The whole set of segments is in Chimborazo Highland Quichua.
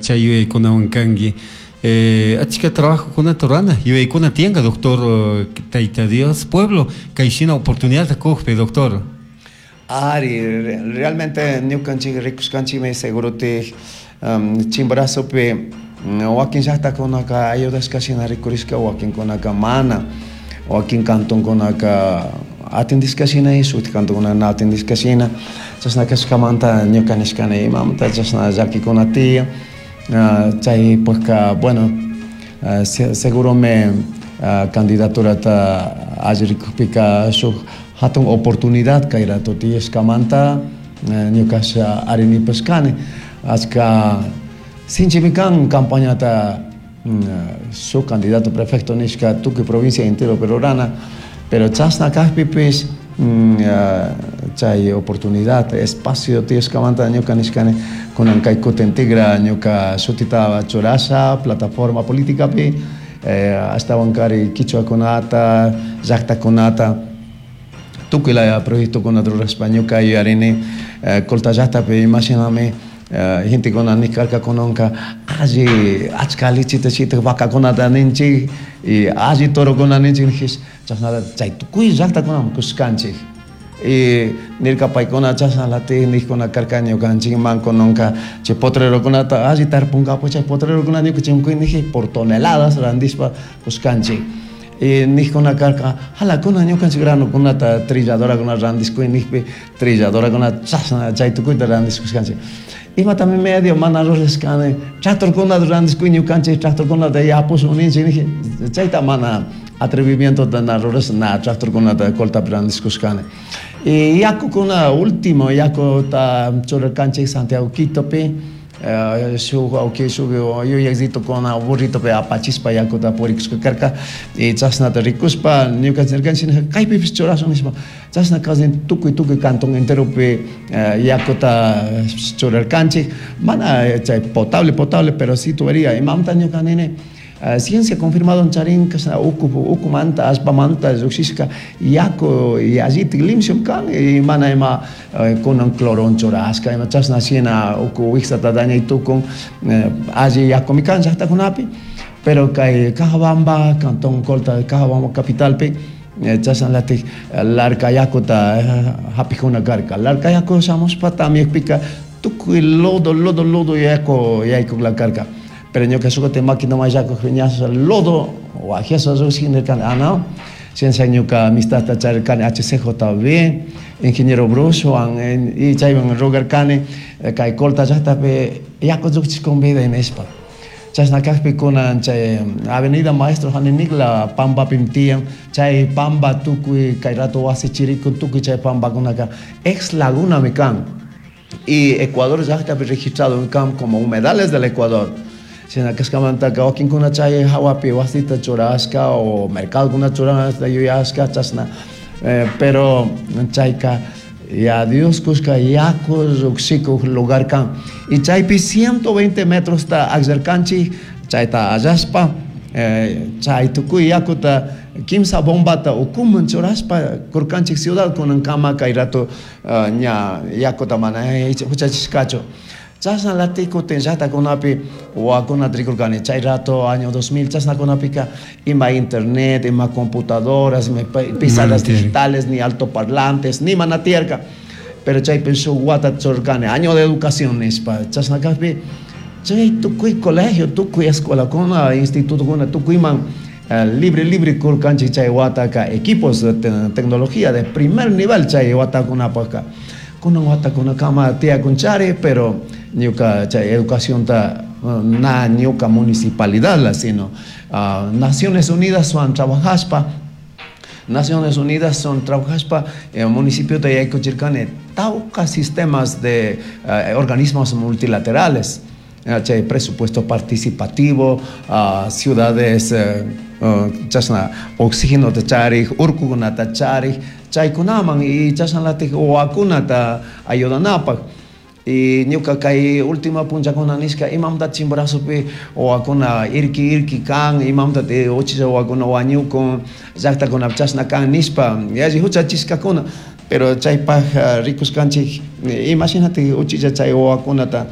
Chay yuyaykunawan kanki. Achka trabajokunata rurana yuyaykuna tiyanka, doctor, Tayta Dios pueblo kayshina oportunidadta kukpi, doctor. Ari, realmente ñukanchik rikushkanchikmi segurotik Chimborazopi wakin llaqtakunaka ayudashka shina rikurishka, wakinkunaka mana, wakin cantonkunaka atendishka shina y shutik cantonkuna na atendishka shina. Chashna kashkamanta ñuka nishkani imamanta chashna llakikuna tiyan. Chaypakka, bueno, seguromi candidaturata alli rikukpika shuk hatun oportunidad kay rato tiyashkamanta ñukash ari nipashkani. Achka sinchimi kan campañata shuk candidato prefecto nishka tukuy provincia enteropi rurana, pero chashna kakpipish chay oportunidad, espacio tiyashkamanta ñuka nishkani kunan kay kutin tigra ñuka shutita churasha plataforma politicapi, ashtawankari quichuakunata, llaktakunata tukuy laya proyectokunata rurashpa ñuka yuyarini Colta llaktapi imashinami gentekuna nikarkakunanka alli achka lichita shitak vacakunata ninchik y alli torokuna ninchik nijish, chashnata chay tukuy llaktakunaman kushkanchik. Y nirka paykuna chashnalatik nijkuna karka ñukanchikman kunanka chay potrerokunata alli tarpunkapak, chay potrerokuna ñukanchik niji por toneladas randishpa kushkanchik. Y nijkuna karka jalakuna ñukanchik granokunata trilladorakuna randishkuy nijpi trilladorakuna chashna chay tukuyta randishkushkanchik. Imatami medio mana rurashkani tractorkunata randishkuy ñukanchik tractorkunata yapushun ninchik niji, chayta mana atrevimientota na rurash, na tractorkunata Coltapi randishkushkani. Y yakukuna último yakuta churarkanchik Santiago Quitopi, shuk wawki shuk yuyakllitokuna burritopi apachishpa yakuta purikushka karka y chashnata rikushpa ñukanchik nirkanchik kaypipish churashun nishpa, chashna casi tukuy tukuy cantón enteropi yakuta churarkanchik, mana chay potable potable, pero sí tubería. Imamanta ñuka nini ciencia confirmado charin kashna uku ukumanta allpamanta llukshishka yaku yallitik limpio kan y mana ima kunan cloron churashka ima chashna shina uku wiksata dañay tukun, alli yakumi kan llaktakunapi. Pero kay Cajabamba, cantón Colta, Cajabamba capitalpi chashnalatik larca yakuta hapikuna karka. Larca yaku shamushpa tamyakpika tukuy lodo lodo lodo yaku yaykukla karka. Pero ñuka shukutin máquina mayllakuk ña lodo wajiasha llukshin nirkani, ah, no, ciencia ñuka amistadta charirkani HCJB ingeniero Brucewan y chaywan rogarkani kay Colta llaktapi yaku llukchishkun vida nishpa. Chashna kakpi kunan chay avenida Maestro Janinikla pampapimi tiyan, chay pampa tukuy kay rato wasi chirikun tukuy chay pampakunaka ex lagunami kan y Ecuador llaktapi registrado kan como humedales del Ecuador. Shina kashkamantaka wakinkuna chay hawapi wasita churashka o mercadokuna churashka yuyashka chashna, pero chayka ya Dios kushka yaku llukshikuk lugar kan y chaypi 120 metros ta akllarkanchik chayta allashpa, chay tukuy yakuta kimsa bombata ukuman churashpa kurkanchik ciudad kunankama kay rato ña yakuta mana huchachishkachu. Chashnalatik kutin llaktakunapi wawakunata rikurkani chay rato año 2000 chashnakunapika ima internet, ima computadoras, ima pizarras digitales, ni altoparlantes, ni mana tiyarka. Pero chaypi shuk wata churarkani año de educación nishpa. Chashna kakpi chay tukuy colegio, tukuy escuelakuna, institutokuna tukuyman libre libre kurkanchik chay wataka equipos de tecnología de primer nivel chay watakunapaka. Kunan watakunakama tiyakunchari, pero ñuka chay educacionta na ñuka municipalidad la, sino Naciones Unidas son trabajashpa, Naciones Unidas son trabajashpa municipio de yaykuchirkani tawka sistemas de organismos multilaterales, chay presupuesto participativo, ciudades chashna oxígenota charik, urkukunata charik, chaykunaman y chashnalatik wawakunata ayudanapak. Y ñuka kay última punllakuna nishka imamanta Chimborazopi wawakuna irki irki kan, imamanta uchilla wawakuna wañukun, llaktakunapi chashna kan nishpa yalli huchachishkakuna, pero chaypak rikushkanchik imashinatik uchilla chay wawakunata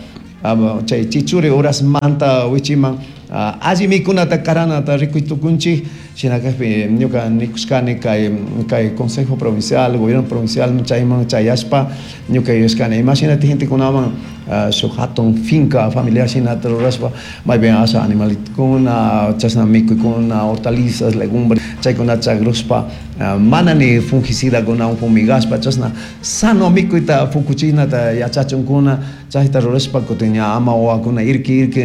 Chay chichuri horasmanta wichiman alli mikunata karanata rikuy tukunchik. Shina kajpi ñuka nikushkani kay Consejo Provincial, Gobierno Provincial chayman chayashpa ñuka yuyashkani imashinatik gentekunaman shuk hatun finca familiar shinata rurashpa maypin asha animalitukuna chashna mikuykuna, hortalizas, legumbres chaykunata chakrushpa mana ni fungicidakunawan fumigashpa chashna sano mikuyta fukuchinata yachachunkuna. Chayta rurashpa kutin ña ama wawakuna irki irki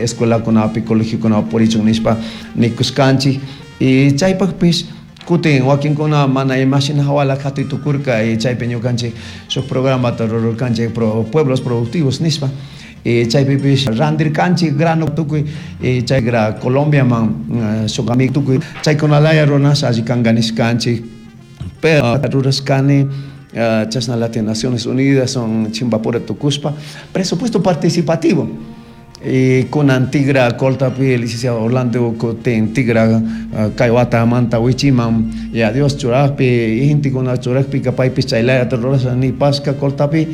escuelakunapi, colegiokunapi purichun nishpa nikushkanchik. Y chaypakpish kutin wakinkuna mana imashina hawala katuy tukurka y chaypi ñukanchik shuk programata rurarkanchik pueblos productivos nishpa. Y chaypipish randirkanchik grano tukuy y chay Colombiaman shuk amigo tukuy chaykunalaya runas alli kanka nishkanchik. Pero rurashkani chashna latin Naciones Unidas son chimbapura tukushpa presupuesto participativo. Y kunan tigra Coltapi licenciado Orlando kutin tigra kay watamanta wichiman y adiós churajpi y gentekuna churajpika paypish chaylayata rurasha nipashka Coltapi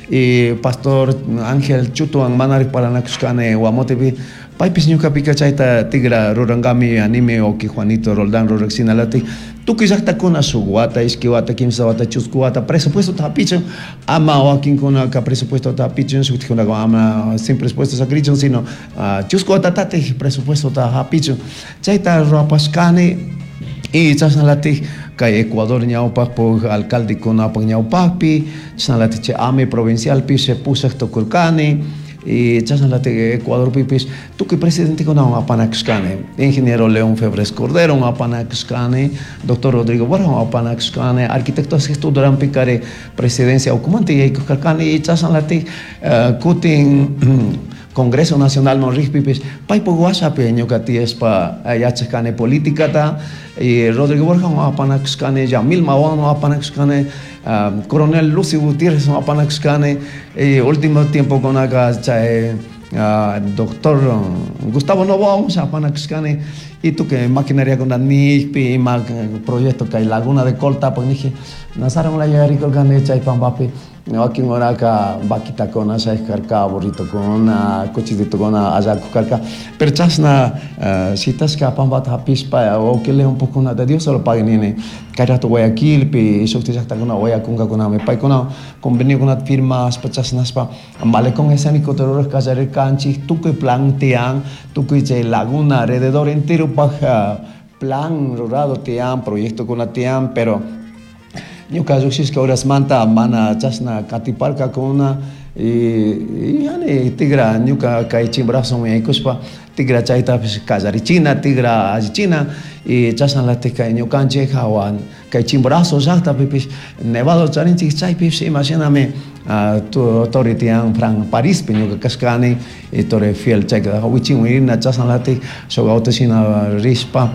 y pastor Ángel Chutuwan manarik parlanakushkani Guamotepi paypish ñukapika chayta tigra rurankami anime oki Juanito Roldán rurak shinalatik tukuy llaktakuna shuk wata, ishki wata, kimsa wata, chusku wata presupuestota hapichun ama wakinkunaka presupuestota hapichun shuktikunaka ama sin presupuesto sakirichun sino chusku watatatik presupuestota hapichun chayta rurapashkani. Y chashnalatik kay Ecuador ñawpakpuk alcaldekunapak ñawpakpi chashnalatik chay AME provincialpish pushak tukurkani y chashnalatik Ecuadorpipish tukuy presidentekunawan apanakushkani ingeniero León Febres Cordero apanakushkani, doctor Rodrigo Borja apanakushkani, arquitecto Sixto Durán Picari presidencia ukumanta yaykukarkani y chashnalatik kutin Congreso Nacional rikpipish paypuk washapi ñuka tiyashpa yachakani políticata y Rodrigo Borja apanakushkani, Yamil Mawan apanakushkani, Coronel Lucio Gutiérrez apanakushkani y último tiempo kunaka chay doctor Gustavo Novoa apanakushkani y tukuy maquinariakuna nikpi ima proyecto kay Laguna de Colta pues niji Nazaron la yuyarikurkani chay pampapi wakin horaka vaquitakuna shaykarka, burritokuna, cuchititokuna allakukarka, pero chashna shitashka pampata hapishpa wawki un poco de Dios solo pague nini kay rato Guayaquilpi shukti llaktakuna wayakunkakunami paykuna conveniokunata firmashpa chashnashpa malecón escénico rurak kallarirkanchik tukuy plan tiyan tukuy chay laguna alrededor enteropak plan rurado tiyan proyectokuna tiyan pero ñuka llukshishka horasmanta mana chashna katiparkakuna y yani tigra ñuka kay Chimborazoman yaykushpa tigra chaytapish kallarichina tigra allichina y chashnalatik kay ñukanchik hawa kay Chimborazo llaktapipish nevado charinchik chaypish imashinami torre tiyan Fran Parispi ñuka kashkani y Torre Eiffel chayka wichinwan rina chashnalatik shuk autoshina rishpa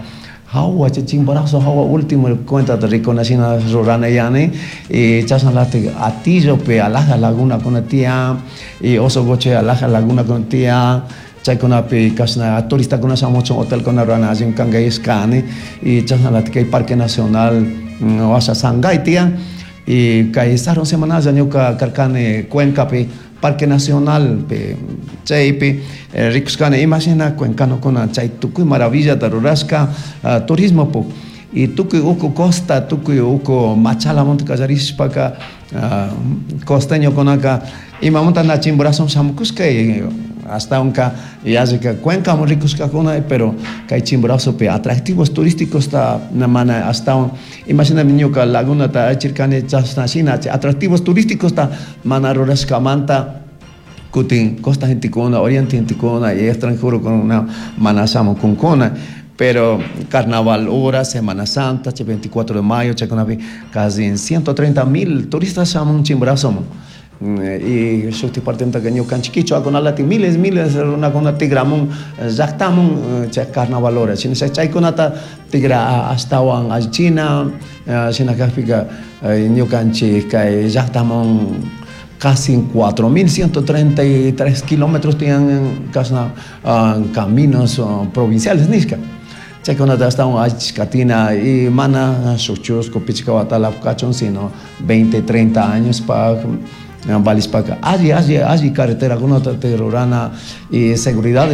hawa chay Chimborazo hawa último cuentata rikunashina rurana yani y chashnalatik Hatillopi alhaja lagunakuna tiyan y Ozogoche alhaja lagunakuna tiyan chaykunapi kashna turistakuna shamuchun hotelkuna rurana allimi kanka yashkani y chashnalatik kay Parque Nacional washa Sangay tiyan y kay sarun semanalla ñuka karkani Cuencapi Parque Nacional chaypi rikushkani imashina cuencanokuna chay tukuy maravillata rurashka turismopuk y tukuy uku costa tukuy uku Machalamanta kallarishpaka costeñokunaka imamanta na Chimborazoman shamukushka y ashtawanka yallika Cuencaman rikushkakuna pero kay Chimborazopi atractivos turísticos ta mana ashtawan imashinami ñuka lagunata achirkani chashna shina atractivos turísticos ta mana rurashkamanta kutin costa gentekuna oriente gentekuna y extranjerokuna mana shamukunkuna pero carnaval hora, Semana Santa, 24 de mayo, chaykunapi casi 130,000 turistas shamun Chimborazoman. Y shukti partemantaka ñukanchik kichwakunalati miles, miles runakuna tigramun llaktamun chay carnaval hora. Shinasha chaykunata tigra ashtawan allichina, shina kakpika ñukanchik kay llaktamun casi 4.133 kilómetros tienen kashna caminos provinciales nishka. Chaykunata ashtawan allichishkatina y mana shuk chusku pichka watala kachun sino 20, 30 años pa Valishpaka alli alli alli carreteracunata rurana y seguridad.